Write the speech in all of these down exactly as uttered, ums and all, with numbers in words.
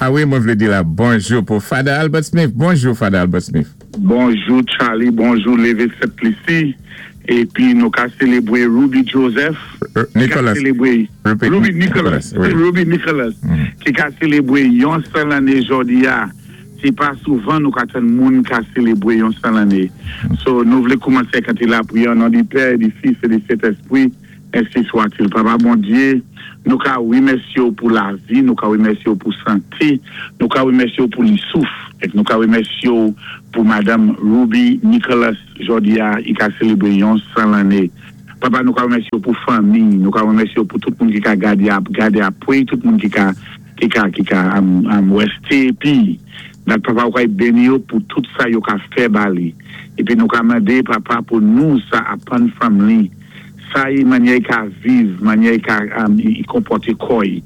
A wi, mwen vlé di la bonjou pou Father Albert Smith. Bonjou, Father Albert Smith. Bonjou, Charlie. Bonjou, Lévé Sent-Lisi. Épi nou ka sélébwé Ruby Joseph. Euh, Nicholas. Sélébré Ruby, Ruby Nicholas. Nicholas, wi. Ruby Nicholas. Ki ka sélébré yon san lanné jòdi a. Sé pa souvan nou ka tann moun ka sélébré yon san lanné. So, nou vlé koumansé kanté lapriyè o non di Pè, di Fis é di Sentèspwi. Ensi swa-t-il. Papa Bondyé, nou ka wimèsyé ou pou lavi, nou ka wimèsyé ou pou santé, nou ka wimèsyé ou pou li souf, é nou ka wimèsyé ou pou Madanm Ruby Nicholas jòdi a, i ka sélébré yon san lanné. Papa, nou ka wimèsyé ou pou fanmi, nou ka wimèsyé ou pou tout moun ki ka gadé ap gadé apwé, tout moun ki ka ki ka ki ka am, am wèsté épi dat papa ou ka béni yo pou tout sa yo ka fè ba li. Épi nou ka mandé papa pou nou sa aprann from li. Sa i mannyè i ka viv, mannyè i ka um, i, i konpòté kò i.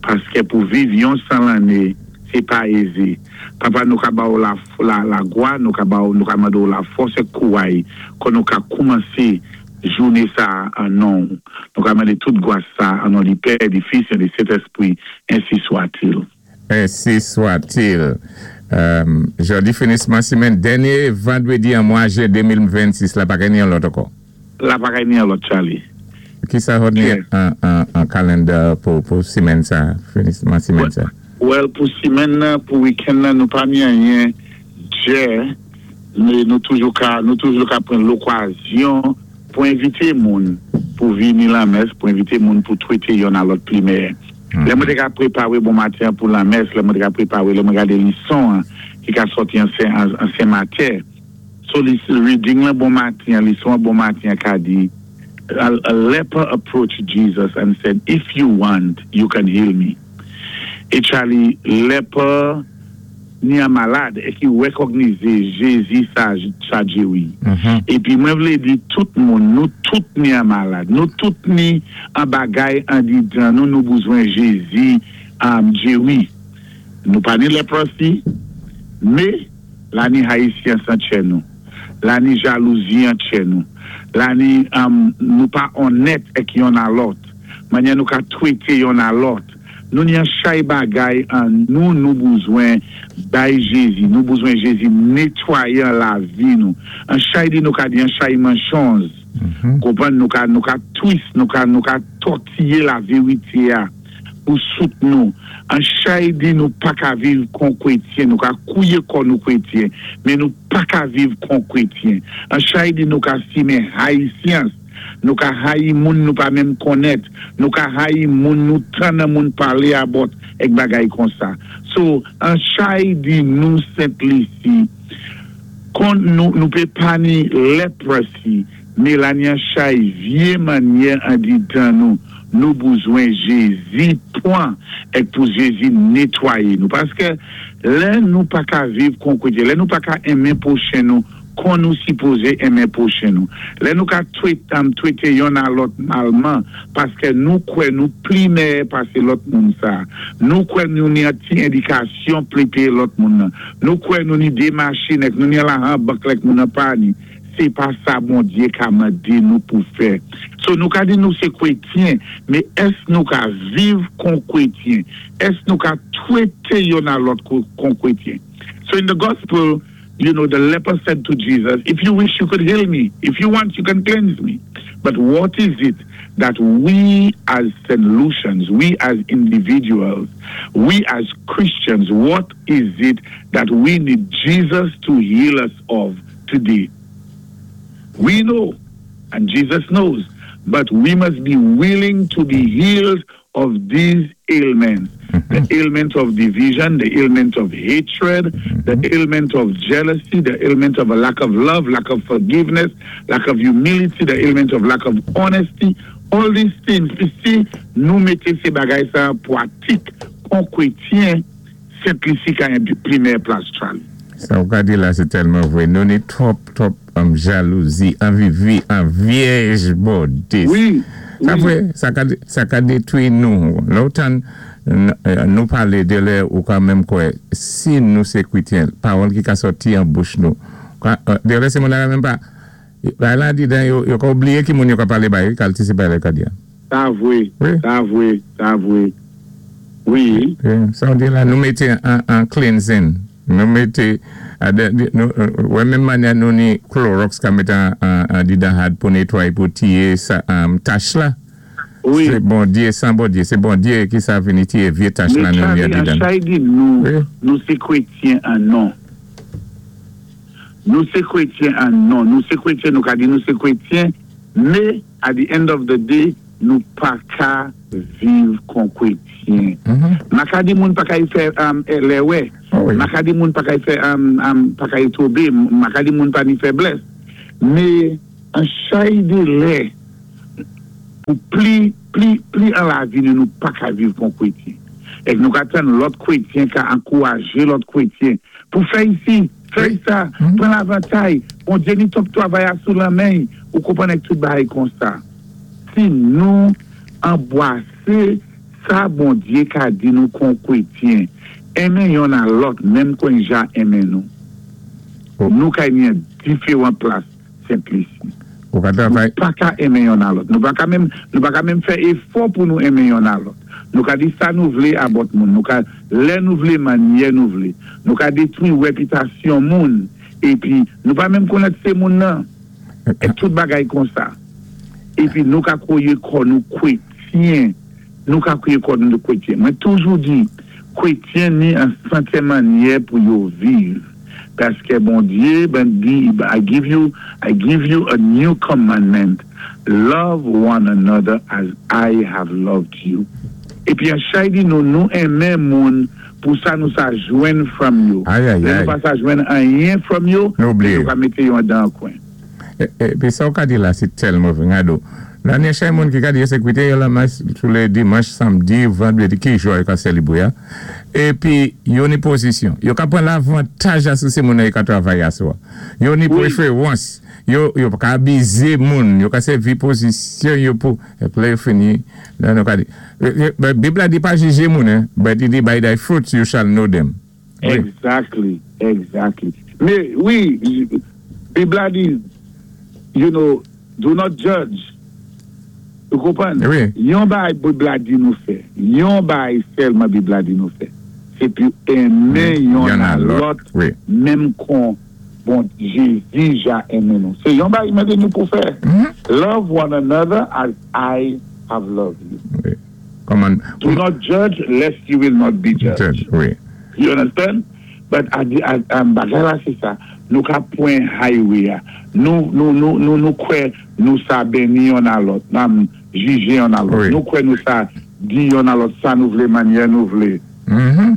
Paské pou viv yon san lanné, sé pa ézé. Papa, nou ka ba ou la, la, lagwa, nou ka ba ou, nou ka mandé ou la fòs é kouway, kon nou ka koumansé jouné sa an non. Nou ka mandé tout gwa sa an non di Pè, di Fis é di Sentèspwi, ensi swa-t-il. Ensi swa-t-il. Euh, jòdi finisman simenn, dènyé vandwédi an mwa jen de mil vennsis, la pa genyen lòt ankò. La pa genyen lòt, Charlie. Ki sa ou ni Ok. an, an, an calendar pou, pou simenn sa, finisman simenn sa? Well, pou simenn nan, pou week-end nan, nou pa ni anyen djè, mé nou toujou ka, nou toujou ka pran lokazyon pou envité moun pou vini lamès, pou envité moun pou twété yonn a lòt pli mèyè. Lè mwen té ka pwépawé bon maten pou lamès, lè mwen té ka pwépawé, lè mwen gadé lison an, ki ka sòti an sen, an, an Sen Matye. So, li, reading la bon maten, lison an bon maten ka di, a, a leper approached Jesus and said, "If you want, you can heal me." É Charlie, leper ni an malad é ki wékognizé Jézi sa, sa djéwi. Mhm. Épi mwen vlé di tout moun, nou tout ni an malad, nou tout ni an bagay andidan, nou nou bezwen Jézi um, djéwi. Nou pa ni leprosy, mé la ni haïsyen san tchè nou. La ni jalouzi an tchè nou. La ni um, nou pa onnèt ek yonn a lòt. Mannyè nou ka twété yonn a lòt. Nou ni an chay bagay an nou nou bezwen bay Jézi. Nou bezwen Jézi nétwayan lavi nou. An chay di nou ka di an chay manchonz. Konpwann nou ka nou ka twist, nou ka nou ka tòtiyé la vérité a pou sout nou. An chay di nou pa ka viv kon kwétyen, nou ka kouwé kon nou kwétyen, mé nou pa ka viv kon kwétyen. An chay di nou ka simen haïsyans, nou ka hayi moun nou pa menm konnèt, nou ka hayi moun nou tann moun palé about ek bagay kon sa. So, an chay di nou Sent Lisi, kon nou, nou pé pa ni leprosy, mé la ni an chay vyé mannyè andidan nou, nou bezwen Jézi pwan ek pou Jézi nétwayé nou. Paské lè nou pa ka viv kon kwétyen, lè nou pa ka enmen pwochen nou, kon nou sipozé enmen pwochen nou. Lè nou ka twété, um, twété yonn a lòt malman, paské nou kwè nou pli mèyè pasé lòt moun sa. Nou kwè nou ni an ti endikasyon pli pé lòt moun nan. Nou kwè nou ni dé machin ek nou ni lajan bank lèk moun nan pa ni. Sé pa sa Bondyé ka mandé nou pou fè. So nou ka di nou sé kwétyen, mé èsk nou ka viv kon kwétyen? Èsk nou ka twété yonn a lòt kon kon kwétyen? So in the gospel, you know, the leper said to Jesus, "If you wish, you could heal me. If you want, you can cleanse me." But what is it that we as Saint Lucians, we as individuals, we as Christians, what is it that we need Jesus to heal us of today? We know, and Jesus knows, but we must be willing to be healed of these ailments. The ailment of division, the ailment of hatred, the ailment of jealousy, the ailment of a lack of love, lack of forgiveness, lack of humility, the ailment of lack of honesty. All these things, si nou mété sé bagay sa an pwatik, kon kwétyen, Sent Lisi ka yon pli mèyè plas, Charlie. Sa ou ka di la, sé tèlman vwé. Nou ni twòp, twòp um, jalouzi, anvi vi, an vyèj bodis. Wi, Sa wi. vwé, sa ka, sa ka détwi nou. Lè ou tann nou palé de lè ou ka menm kwè, si nou sé kwétyen, pawòl ki ka sòti an bouch nou. Ka, euh, de lè sé moun la menm pa, la la di dan yo, yo ka oubliyé ki moun yo ka palé bay, kalti sé bay lè ka di. Sa vwé, Wi. sa vwé, sa vwé. Wi. Sa ou di la, nou mété an, an cleansing. Nou mété, nou, wè menm mannyè nou ni Clorox ka mété an, an, an didan had pou nétwayé pou tiyé sa, um, tach la. Wi. Sé Bondyé, san Bondyé, sé Bondyé ki sa vini tiyé vyé tach la Mais nou ni Charlie, an didan. chay di nou, Wi. nou sé krétyen an non. Nou sé krétyen an non. Nou sé krétyen, nou ka di nou sé krétyen, mé at the end of the day, nou pa ka viv kon krétyen. Mhm. Ma ka di moun pa ka y fè um, lèwè. Oh, wi. Ma ka di moun pa ka y fè um, um, pa ka y tonbé, ma ka di moun pa ni fèblès. Mé an chay dé lè pou pli, pli, pli an lavi nou nou pa ka viv kon krétyen. Èk nou ka tann lòt krétyen ka ankourajé lòt krétyen. Pou fè isi, fè Wi. sa, Mhm. pran lavantay, Bondyé ni twòp twavay a sou lanmen, ou konpwann èk tout bagay kon sa. Si nou anbwasé sa Bondyé ka di nou kon krétyen, enmen yonn a lòt, menm kon ja enmen nou. Oh. Nou ka ni an diferan plas, Sent Lisi. Ou ka Nou travay, pa ka enmen yonn a lòt. Nou pa ka menm, nou pa ka menm fè éfò pou nou enmen yonn a lòt. Nou ka di sa nou vlé about moun. Nou ka lè nou vlé, mannyè nou vlé. Nou ka détwi répitasyon moun. Épi, nou pa menm konnèt sé moun nan. É tout bagay kon sa. Épi, nou ka kwoyé kò nou krétyen. Nou ka kwoyé kò nou krétyen. Mwen toujou di, krétyen ni an sèten mannyè pou yo viv. Paské Bondyé, ben di, I give you, I give you a new commandment. Love one another as I have loved you. Épi, an chay di nou, nou enmen moun pou sa nou sa jwenn from yo. Ay, ay, Lè ay. nou pa sa jwenn anyen from yo, Nou oubliyé. nou ka mété yo an dan kwen. É, épi sa ou ka di la, sé tèlman vwé, gado. La ni chay moun ki ka di yo sé krétyen, yo la mas tou lé dimanch, samdi, vandwédi, ki jou yo ka sélébwé ya. Épi, yo ni pozisyon. Yo ka pran lavantaj asou sé moun yo ka travay asou. Yo ni Wi. préférans. Yo, yo ka abizé moun. Yo ka sèvi pozisyon yo pou, épi lè yo fini, la nou ka di. Eh, eh, Bib la di pa jijé moun, eh, but li di by thy fruits you shall know them. Wi. Exactly, exactly. Mé wi, Bib la di, you know, do not judge. Ou konpwann? Wi. Yon bagay Bib la di nou fè. Yon bagay sèlman Bib la di nou fè. Sé pi enmen yonn Yonn a a lòt, lòt, wi. menm kon bon Jézi ja enmen nou. Sé yon bagay mandé nou pou fè. Mhm. Love one another as I have loved you. Wi. Kòman, Do not judge lest you will not be judged. judge, wi. You understand? But a, a, a, bagay la sé sa. Nou ka pwan highway a. Nou, nou, nou, nou, nou kwè nou sa béni yonn a lòt. Nam jijé yonn a lòt. Wi. Nou kwè nou sa di yonn a lòt sa nou vlé mannyè nou vlé. Mhm.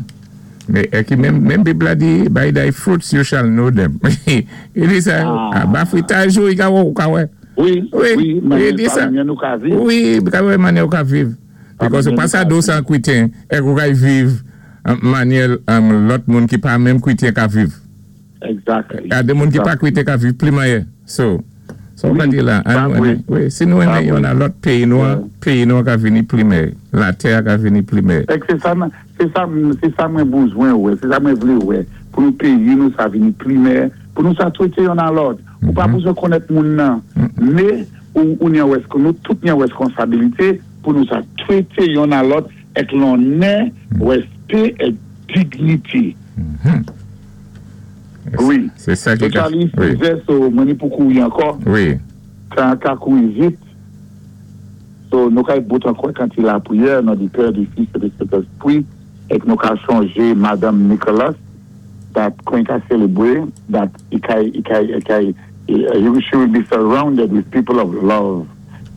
Mé é ki menm, menm Bib la di, by thy fruits you shall know them. I di sa, Ah. ah, ba fritaj ou, i ka wè, ou ka wè. Wi, Wi, wi, i mannyè di sa. mannyè nou ka viv. Wi, ka wè mannyè ou ka viv. Because ou mannyè pa nou sa ka do viv. san krétyen, é ou ka viv an mannyè um, lòt moun ki pa menm krétyen ka viv. Exactly. A dé moun ki pa krétyen ka viv pli manyè. So, so ou ka Wi, di la, pa an, vwé. wi, si nou Pa enmen vwé. yon a lòt péyi nou, Ouais. péyi nou ka vini pli mèyè. Latè ka vini pli mèyè. É sé sa, sé sa, sé sa mwen bezwen wè, sé sa mwen vlé wè. Pou nou péyi nou sa vini pli mèyè, pou nou sa twété yonn a lòt. Ou pa bezwen konnèt moun nan. Mé ou, ou ni an wès, nou tout ni an wèskonsabilité pou nou sa twété yonn a lòt èk lonnè, wèspè é dignité. Wi. Sé sa ki So ka... Charlie, Wi. sizè, so mwen ni pou kouri ankò, Wi. ka, ka kouri vit. So nou ka bout ankò kan ti lapriyè, nan di Père, du Fils et du Saint-Esprit, é nou ka chonjé Madame Nicholas, that kwen ka sélébwé, that i kay, i kay, i kay, eh, she will be surrounded with people of love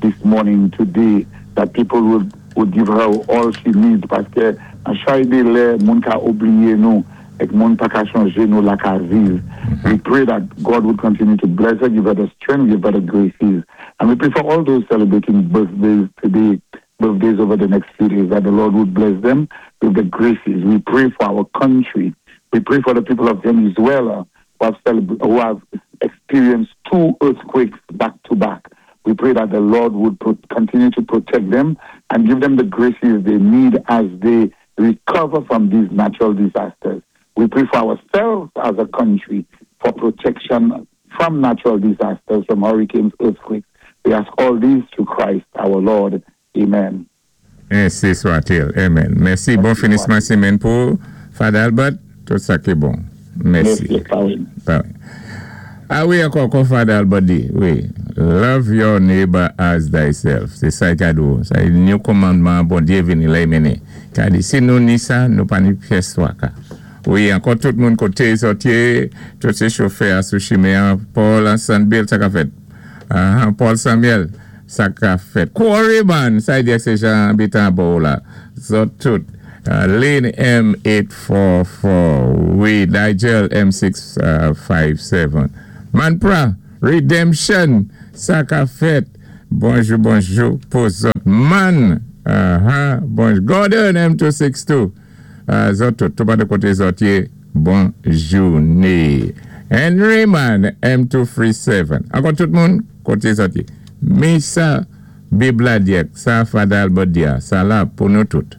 this morning, today, that people would, would give her all she needs, paské an chay dé lè, moun ka oubliyé nou, èk moun pa ka chonjé nou la ka viv. We pray that God would continue to bless her, give her the strength, give her the graces. And we pray for all those celebrating birthdays today, birthdays over the next few days, that the Lord would bless them with the graces. We pray for our country. We pray for the people of Venezuela who have, celebra- who have experienced two earthquakes back to back. We pray that the Lord would pro- continue to protect them and give them the graces they need as they recover from these natural disasters. We pray for ourselves as a country for protection from natural disasters, from hurricanes, earthquakes. We ask all these through Christ our Lord. Amen. Ensi swa-t-il. Amen. Mèsi. Bon finisman sémèn pou Father Albert. Tout sa ki bon. Mèsi. Mèsi, pareil. Pareil. A wi, ankò, kon Father Albert di. Wi. Love your neighbor as thyself. Sé sa ka di. Sa new kòmandman Bondyé vini la mennen. Ka di, si nou ni sa, nou pa ni pyès twaka. Wi, ankò tout moun koté zòt yé, tout sé chofè sou chimen, Paul Sanbill, sa ka fèt. Uh, Paul Samuel, sa ka fèt. Quarryman, sa di sé Jean Bitan la. Zòt tout. Uh, Lane M eight four four. Wi, Nigel M six five seven. Manpra, Redemption, sa ka fèt. Bonjou, bonjou, pou zòt. Man, uh-huh, bonjou. Gordon M two six two. Uh, zòt tout, tout pa de koté zòt yé, bon jouné. Henry Man M two three seven. Ankò tout moun, koté zòt yé. Mi sa, Bib la di, sa Father Albert di, sa la pou nou tout.